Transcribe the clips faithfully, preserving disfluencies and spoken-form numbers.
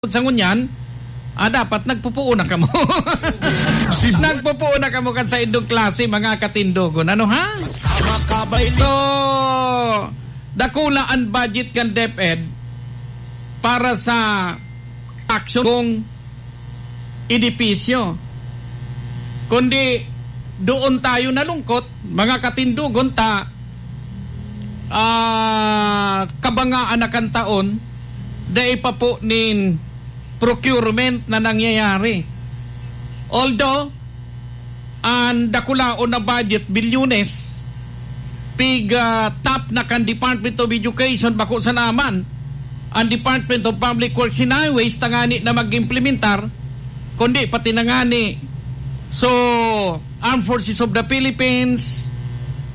Sa ngunyan, ah, dapat nagpupuon na kamo. Nagpupuon na kamo kan saindong klase, mga katindogon. Ano, ha? So, dakula an budget kan DepEd para sa aksyon kung edipisyo. Kundi doon tayo nalungkot, mga katindogon, ta, ah, kabangaan na kan taon, dai pa po nin procurement na nangyayari. Although, an dakulaon na budget, bilyones, pig, ah, top na kan Department of Education, bako sana man an Department of Public Works and Highways tangani na mag-implementar, kundi pati na ngani. So, Armed Forces of the Philippines,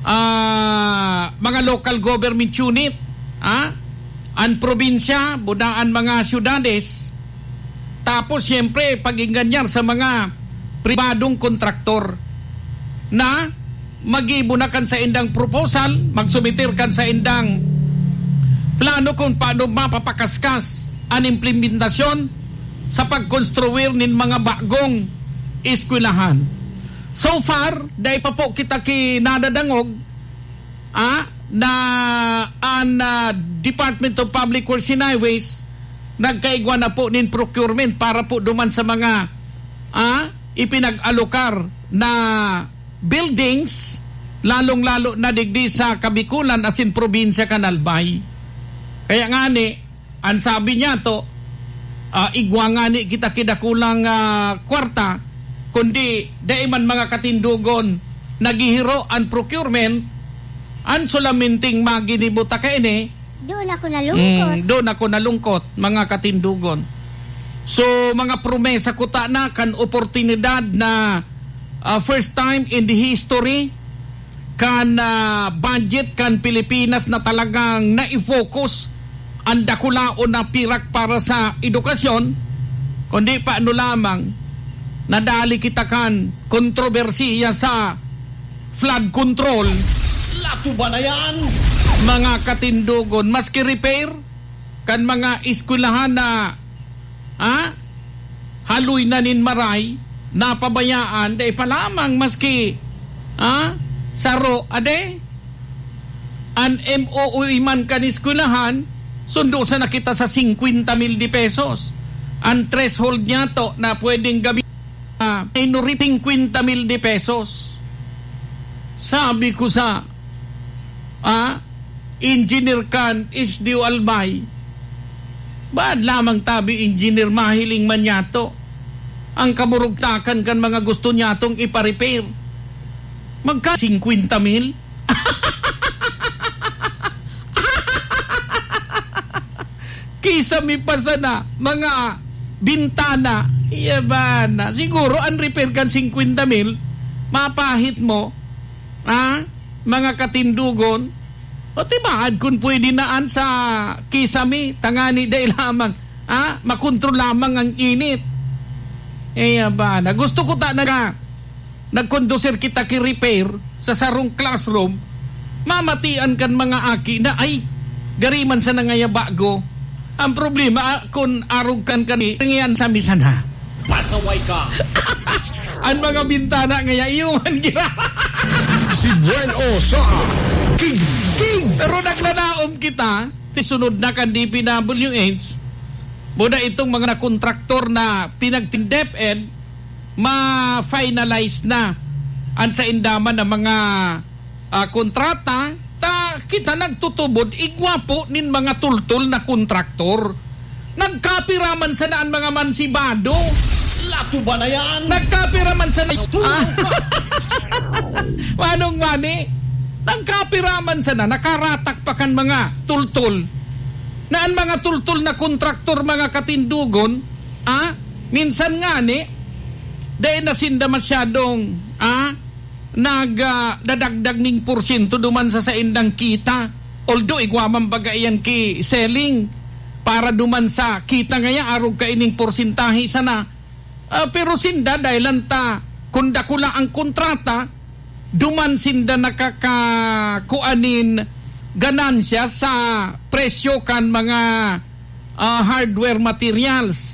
ah, mga local government unit, ah, an probinsya, buda an mga syudades, tapos, siyempre, pag-inganyar sa mga pribadong kontraktor na maggibo na kan saindang proposal, magsumiter kan saindang plano kung paano mapapakaskas an implementasyon sa pagkonstruir nin mga bagong eskwelahan. So far, dai pa po kita kinadadangog, ah, na an, ah, Department of Public Works and Highways nagkaigwa na po nin procurement para po duman sa mga, ah, ipinag-alokar na buildings, lalong-lalo na digdi sa Kabikulan asin probinsya kan Albay. Kaya ngani, an sabi niyato, ah, igwa ngani kita ki dakulang, ah, kwarta, kundi dai man, mga katindogon, naghihiro an procurement, an solamenteng maginibo ta kaini. Doon ako nalungkot. Mm, doon ako nalungkot, mga katindogon. So, mga promesa kuta na kan oportunidad na, ah, first time in the history kan, ah, budget kan Pilipinas na talagang nai-focus an dakulaon na pirak para sa edukasyon, kundi paano lamang nadali kita kan kontrobersiya sa flood control. Latuba na yan! Mga katindogon, maski repair kan mga eskwelahan na, ha? Haloy na nin maray, napabayaan, dai pa lamang maski, ha? Saro, ade? An M O U man kan eskwelahan, sundo sana kita sa singkwenta mil de pesos. An threshold niyato na pwedeng gabi, ah, minority, singkwenta mil de pesos. Sabi ko sa, ah, engineer kan S D O Albay, baad lamang tabi engineer mahiling man niyato. Ang kaburugtakan kan mga gusto niyatong ipa-repair. Magka singkwenta mil? Kisame pa sana, mga bintana. Iya ba na? Siguro, an repair kan singkwenta mil, mapahit mo, ha? Mga katindogon. O, tibaad kun pwede na an sa kisame, tangani dai lamang, ha? Makontrol lamang ang init. Iya ba na? Gusto ko ta na nagkondusir kita ki repair sa sarong classroom, mamatian kan mga aki na, "Ay, gari man sana ngaya bago." Ang problema, ah, kun arog kan kani, ngayan sa misa na. Pasaway ka! An mga bintana ngaya, iyo man gira. Si Buen O sa King. King! Pero naglalaom kita, ti sunod na kan D P W H, muna itong mga kontraktor na pinagtindep-en, ma-finalize na an sainda man na mga, ah, kontrata, ta kita nagtutubod, igwa po nin mga tultol na kontraktor. Nagkapira man sana an mga mansibado. Latuba na yan! Nagkapira man sana. Latuba. Ah. Manong Mani, nagkapira man sana, nakaratak pa kan mga tultol. Na an mga tultol na kontraktor, mga katindogon, ah, minsan ngani, dai na sinda masyadong, ah, nag, ah, dadagdag ning porsyento duman sa saindang kita. Although, igwa man baga iyan ki selling para duman sa kita ngaya, arog kaining porsentahe sana. Ah, pero sinda, dahil lang ta, kung dakula ang kontrata, duman sinda nakaka-, kuan nin ganansya sa presyo kan mga, ah, hardware materials.